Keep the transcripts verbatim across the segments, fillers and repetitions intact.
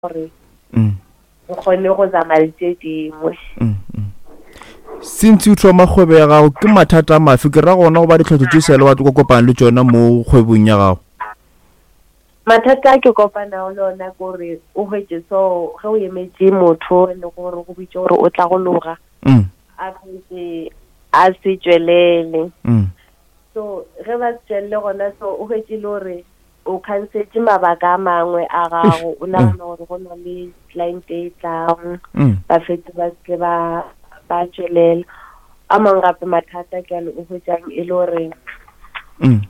Gore Mm. o kgone go zama le tše dingwe. Mm, mm. Since o thoma kgwebo ya gago, ke mathata a mafe ke ra gona go ba ditlhotlo tše sele wa tlo kopana le tšona mo kgwebong ya gago? Mathata a ke kopanago le ona ke gore o hwetše so ge o emetše motho e le gore go bitše gore o tla go loga, Mm. a fetše a se tšwelele. Mm. So ge ba se tšwelele gona, so o hwetše le gore o canceletse mabaka a mangwe a gago, o nagana gore go na le client e tlang, Mm. ba fetse ba seke ba ba tšwelela. A mangwe gape mathata ke ale o hwetšang e le gore Mm.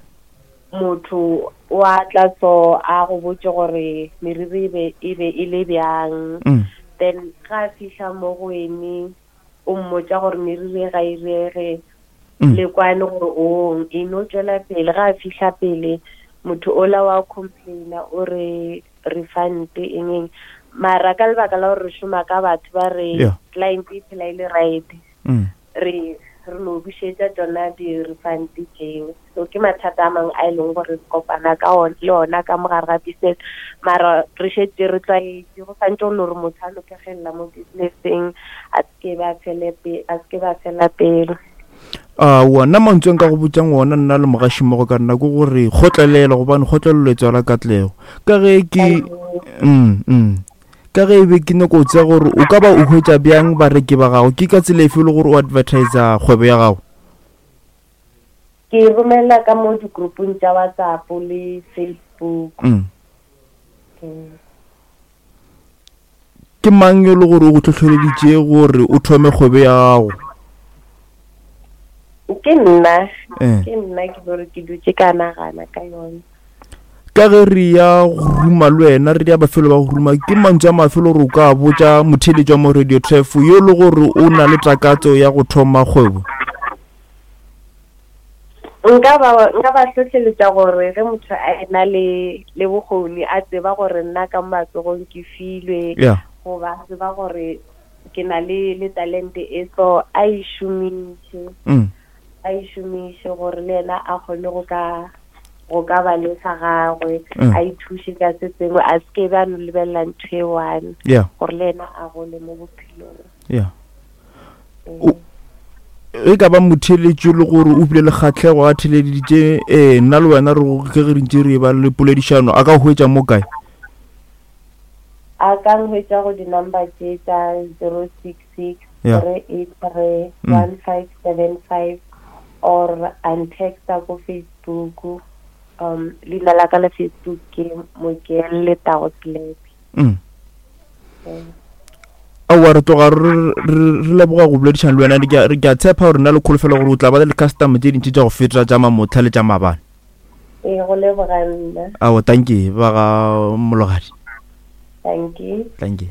motho o a tla so a go botse gore meriri e be e be e le bjang, Mm. then ga a fihla mo go wene o mmotša gore meriri e ga e rege, Mm. le kwane gore o e no tšwela pele. Ga a fihla pele motho ola wa complaina o re refund eng eng, mara ka lebaka la gore re šoma ka batho ba re Yeah. client e phela e le right, Mm. re re no bušetša tšona di-refund tšeo. So ke mathata a mangwe a e leng gore re kopana ka on, le ona ka mogare ga business, mara re šetše re tlwaetše. Go santše go no re motho a no phegelela mo businesseng, a seke ba fele pe-, a seke ba fela pelo. Aowa, nna mantswe a nka go botsang ona nna le mogašimmogo ka nna ke gore kgotlelela, gobane kgotlelelo e tswala katlego. Ka ge ke mm, mm. Ka ge e be ke nyako tseba gore o ka ba o hwetša bjang bareki ba gago, ke ka tsela efe e le gore o advertisa kgwebo ya gago? Ke romela ka mo di-groupong tša WhatsApp le Facebook. Mm. Mm. Ke mang yo le gore o go hlohleleditše gore o thome kgwebo ya gago? Ke nna, Eh. ke nna ke gore ke dutše ka nagana ka yone. Ka ge re ya go ruma le wena, re ya bafelo ba go ruma, ke mantswe a mafe le gore o ka botša motheeletši wa mo Radio Turf yo le gore o na le takatso ya go thoma kgwebo? Nka ba, nka ba hlohleletša gore ge motho a ena le, le bokgoni, a tseba gore nna ka matsogong ke filwe, Yeah. goba a tseba gore ke na le, le talente e, so a e šomiše. Mm. A e šomiše gore le yena a kgone go ka, go ka ba le sa gagwe, Mm. a ithuše ka se sengwe, a se ke be a no lebelela ntho e one, Yeah. gore le yena a gole mo bophelong. Yeah. Mm. O, e ka ba motheeletši le gore o bile le kgahlego a theeleditše, eh, nna le wena re go, ke ge re ntše re ba le poledišano, a ka hwetša mo kae? A ka nhwetša go di-number tše tša zero six six Yeah. three eight three Mm. one five seven five, or a ntexta ko Facebook. Um, leina la ka la Facebook ke Mokel Letago Selepe. Mm. Mm. Aowa, re tloga re, re, re leboga go boledišana le wena. Ke a, ke a tshepa gore nna le kholofelo gore o tla ba le di-customer tše dintši tša go feta tša mamotlha le tša maabane. Ee, go leboga nna. Aowa, thank you, ba ga Mologadi. Thank you. Thank you.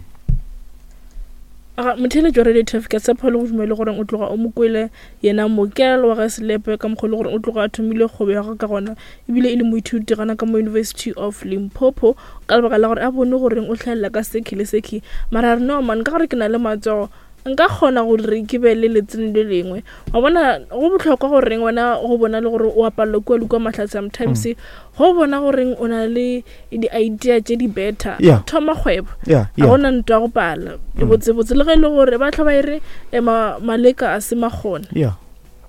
Aga, motheeletši wa Radio Turf, ke a tshepa le go dumele gore o tloga o mo kwele yena Mokel wa ga Selepe ka mokgwa le gore o tloga a thomile kgwebo ya gagwe ka gona, ebile e le moithuti gana ka mo University of Limpopo, ka lebaka la gore a bone gore o hlaelela ka sekhi le sekhi. Mara a re, no man, ka gore ke na le matsogo, nka kgona gore ke be le letseno le lengwe. Wa bona, go bohlokwa goreng wena go bona le gore o apallwa kua le kua mahlatse sometimes, Mm. go bona goreng o na le di-idea tše di better, Yeah. thoma kgwebo. Yeah, Ga yeah. gona ntwa ya go pala. Mm. Botsebotse le ge e le gore ba tla ba e re, eh, ma-, maleka a se makgone. Yeah.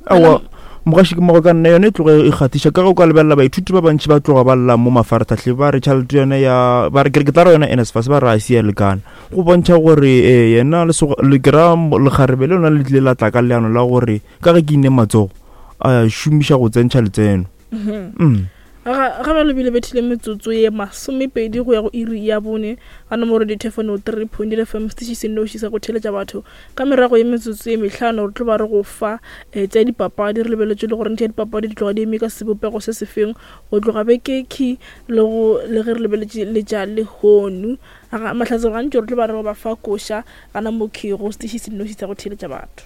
Aowa, mogaši ke mogo ka nna yone e tloge e kgathiša, ka ge o ka lebelela baithuti ba bantši ba tloga ba lla mo mafaratlhatlheng, ba re tšhelete yone ya, ba re ke re ke tla re yona N S F A S, ba re a se ya lekana. Go bontšha gore, eh, yena lesoga-, le ke ra mo-, lekgarebe le lona le tlile la tla ka leano la gore ka ge ke ine matsogo, a šomiša go tsentšha letseno. Mhm. Mm. Ga, ga ba lebile bethile metsotso ye masomepedi go ya go iri ya bone ga nomoro dithefone three point eight F M, setiši se nnoši sa go theeletša batho. Ka merago ye metsotso ye mehlano re tlo ba re go fa, eh, tša dipapadi, re lebeletše le gore tša dipapadi di tloga di eme ka sebopego se sefeng go tloga bekekhi le go, le ge re lebeletše le tša lehono. Ga, mahlatse gantši re tlo ba re go ba fa koša gana mo key go setiši se nnoši sa go theeletša batho.